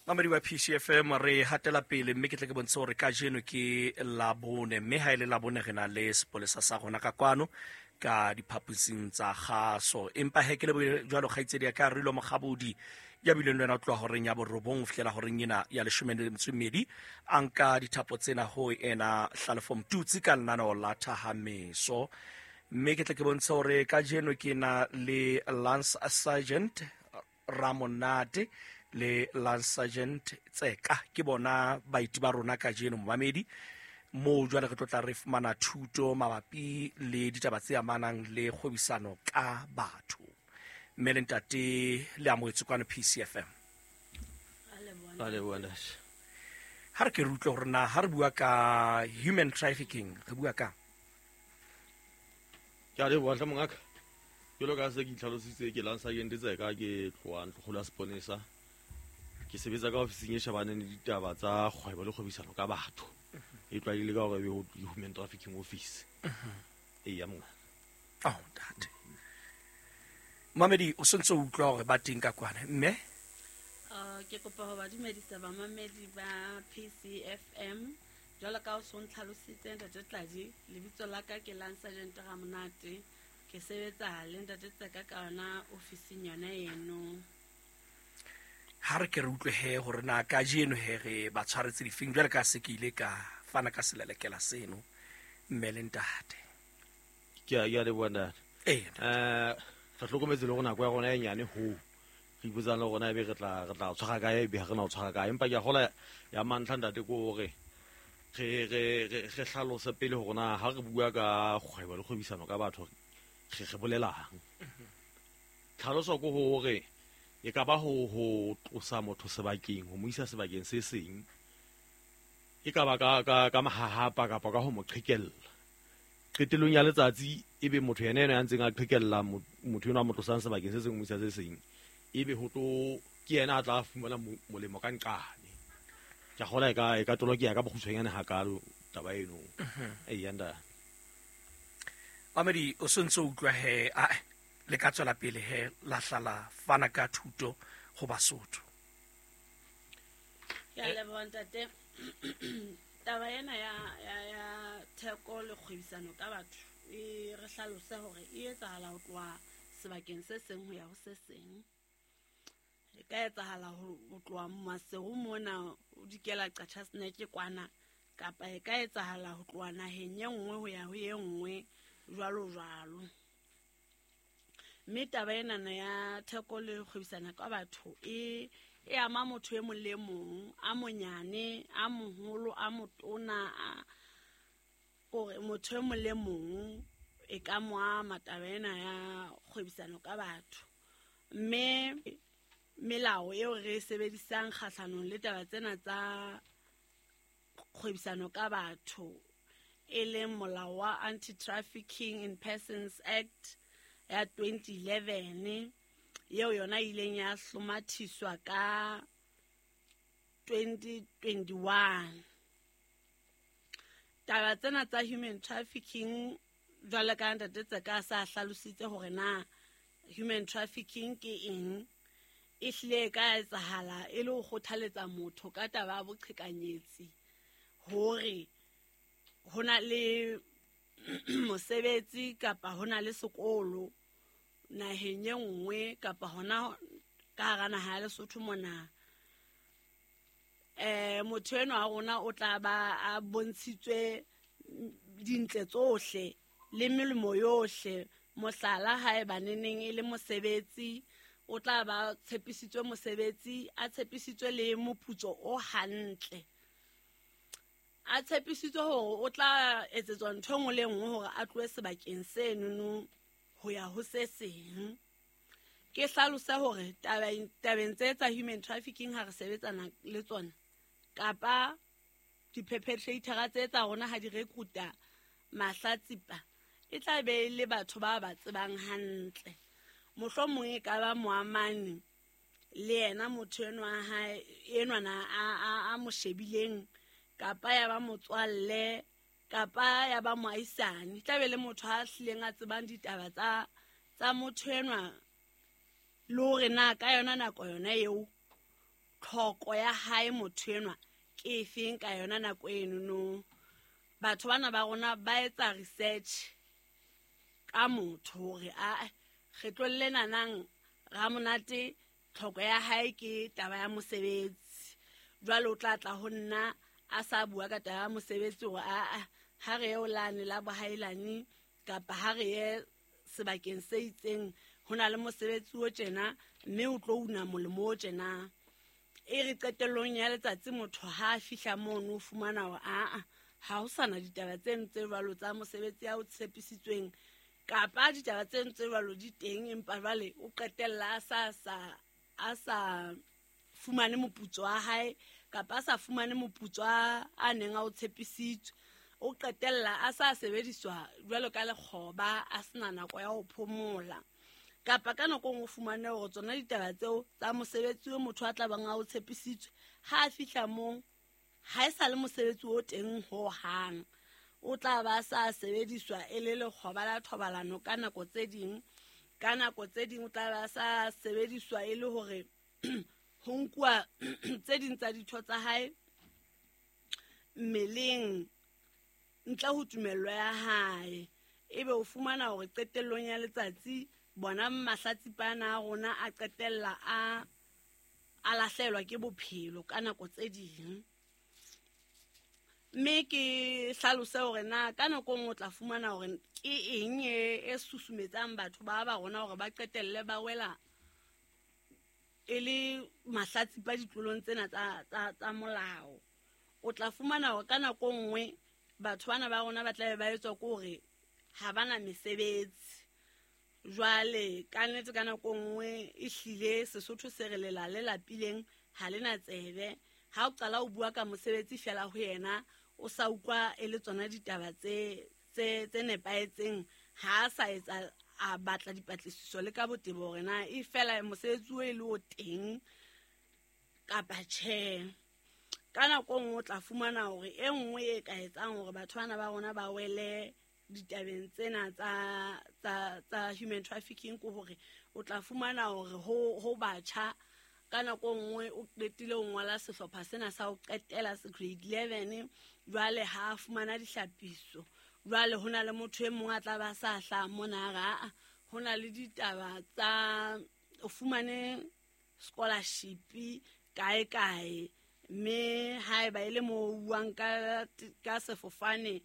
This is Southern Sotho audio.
Mamedi wa PCFM, re hatela pele, mme ke tle ke bontshe hore kajeno ke Labone, mme ha e le Labone re na le sepolesa sa rona ka kwano ka diphaposing tsa kgaso. Empa he ke lebohile jwalo kgaitsedi ya ka Rilo Mokgabodi, ya bileng le wena ho tloha horeng ya 9 ho fihlela horeng ena ya 12, a nka dithapo tsena ho ena Hlalefo Mtutsi ka lenaneo la Thahameso. Mme ke tle ke bontshe hore kajeno ke na le Lance Sergeant Ramonate le Lance Sergeant Tseka, ke bona baeti ba rona kajeno momamedi, moo jwale re tlo tla re fumana thuto mabapi le ditaba tse amanang le kgwebisano ka batho. Mme le ntate le amohetse kwano PCFM. Ha re ke re utlwe hore na ha re bua ka human trafficking re bua ka. Ke a leboha hle mongaka. Jwalo ka se ke itlhalositse, ke Lance Sergeant Tseka, ke tloha Ntlokgolo ya Seponesa. Ke sebetsa ka ofising e shebaneng le ditaba tsa kgwebo le kgwebisano ka batho. E tlwaelehile ka hore ebe ho Human Trafficking Office. Eya mongaka. Oh, ntate. Mamedi, o sentse o utlwa hore ba teng ka kwana, mme? Ke kopa ho ba dumedisa bamamedi ba PCFM. Jwalo ka o so ntlhalositse ntate Tladi, lebitso la ka ke Lance Sergeant Ramonate. Ke sebetsa le ntate Tseka ka yona ofising yona eno. Ha re ke re utlwe he hore na kajeno he re ba tshwaretse difeng, jwale ka se ke ile ka fana ka selelekela seno, mme le ntate. Ke a leboha ntate. Ee. Re hlokometse le hore nako ya rona e nyane hoo. Re ipotsang le rona ebe re tla tshwara kae, ebe ha re na ho tshwara kae. Empa ke a kgolwa ya mantlha ntate ke hore re hlalose pele hore na ha re bua ka kgwebo le kgwebisano ka batho re bolelang. Tlhaloso ke hore e ka ba ho tlosa motho sebakeng, ho mo isa sebakeng se seng. E ka ba ka mahahapa kapa ka ho mo qhekella. Qetellong ya letsatsi ebe motho yena ena ya ntseng a qhekella motho enwa a mo tlosang sebakeng se seng ho mo isa se seng, ebe ho tlo ke yena a tla fumana molemo ka nqane. Ke a kgolwa e ka tolokeha ka bokgutshwanyane hakalo taba eno. Eya ntate. Mamedi, o sentse o utlwa he, a le ka tswela pele he la hlala fana ka thuto ho Basotho. Ke a leboha ntate. Taba ena ya theko le kgwebisano ka batho e re hlalose hore e etsahala ho tloha sebakeng se seng ho ya ho se seng. E ka etsahala ho tloha Maseru mona o dikela Qacha's Nek kwana, kapa e ka etsahala ho tloha naheng e nngwe ho ya ho e nngwe, jwalo jwalo. Mme taba enana ya theko le kgwebisano ka batho e ama motho e mong le mong, a monyane, a moholo, a motona, a kore motho e mong le mong e ka mo ama taba ena ya kgwebisano ka batho. Mme melao eo re e sebedisang kgahlanong le taba tsena tsa kgwebisano ka batho, e leng molao wa Anti-Trafficking in Persons Act ya 2011, eo yona e ileng ya hlomathiswa ka 2021. Taba tsena tsa human trafficking, jwalo ka ntate Tseka sa hlalositse hore na human trafficking ke eng, e hlile e ka etsahala e le ho kgothaletsa motho ka taba ya boqhekanyetsi hore ho na le mosebetsi kapa ho na le sekolo naheng e nngwe kapa hona ka hara naha ya Lesotho mona. Motho enwa wa rona o tla ba a bontshitswe dintle tsohle le melemo yohle. Mohlala, haeba neneng e le mosebetsi, o tla ba tshepisitswe mosebetsi, a tshepisitswe le moputso o hantle, a tshepisitswe hore o tla etsetswa ntho e nngwe le nngwe hore a tlohe sebakeng senono ho ya ho se seng. Ke hlalose hore tabeng tse tsa human trafficking ha re sebetsana le tsona, kapa di-perpetrator tse tsa rona ha di recruita mahlatsipa, e tla be e le batho ba ba tsebang hantle. Mohlomong e ka ba moamani le yena motho enwa wa hae, enwana a mo shebileng, kapa ya ba motswalle, kapa ya ba moahisani. E tla be le motho a hlileng a tsebang ditaba tsa motho enwa, le hore na ka yona nako yona eo tlhoko ya hae motho enwa ke efeng ka yona nako enono. Batho bana ba rona ba etsa research ka motho hore a kgetlong lena nang Ramonate tlhoko ya hae ke taba ya mosebetsi. Jwale o tla tla ho nna a sa bua ka taba ya mosebetsi hore a ha re ye o lane la bohailane kapa ha re ye sebakeng se itseng ho na le mosebetsi o tjena mme o tlo una molemo o tjena. E re qetellong ya letsatsi motho ha a fihla mono o fumana hore aa ha ho sana ditaba tseno tse jwalo tsa mosebetsi ya o tshepisitsweng kapa ditaba tseno tse jwalo di teng, empa jwale o qetella a sa fumane moputso wa hae kapa a sa fumane moputso a neng a o tshepisitswe. O qetella a sa sebediswa jwalo ka lekgoba, a sena nako ya ho phomola. Kapa ka nako o fumane hore tsona ditaba tseo tsa mosebetsi o motho a tla bang a o tshepisitswe, ha a fihla moo ha e sa le mosebetsi o teng ho hang, o tla ba sa sebediswa e le lekgoba la thobalano ka nako tse ding. Ka nako tse ding o tla ba sa sebediswa e le hore ho nkuwa tse ding tsa ditho tsa hae mmeleng ntle ho tumello ya hae. Ebe o fumana hore qetellong ya letsatsi bona mahlatsipana a rona a qetella a lahlelwa ke bophelo ka nako tse ding. Mme ke hlalose hore na ka nako nngwe o tla fumana hore ke eng e susumetsang batho ba rona hore ba qetelle ba wela e le mahlatsipa ditlolong tsena tsa molao. O tla fumana hore ka nako nngwe batho bana ba rona ba tla be ba etswa ke hore ha bana mesebetsi. Jwale ka nnete ka nako nngwe e hlile Sesotho se re lela le lapileng ha lena tsebe. Ha o qala o bua ka mosebetsi fela ho yena o sa utlwa e le tsona ditaba tse nepahetseng, ha a sa etsa a batla dipatlisiso le ka botebo hore na e fela mosebetsi o e le o teng kapa tjhe. Ka nako nngwe o tla fumana hore e nngwe e ka etsang hore batho bana ba rona ba wele ditabeng tsena tsa human trafficking ke hore o tla fumana hore ho batjha ka nako nngwe o qetile ho ngola sehlopha sena sa ho qetela se grade 11, jwale ha a fumana dihlapiso. Jwale ho na le motho e mong a tla ba sa hlaha mona a ho na le ditaba tsa o fumane scholarship kae kae, mme haeba e le mo buang ka sefofane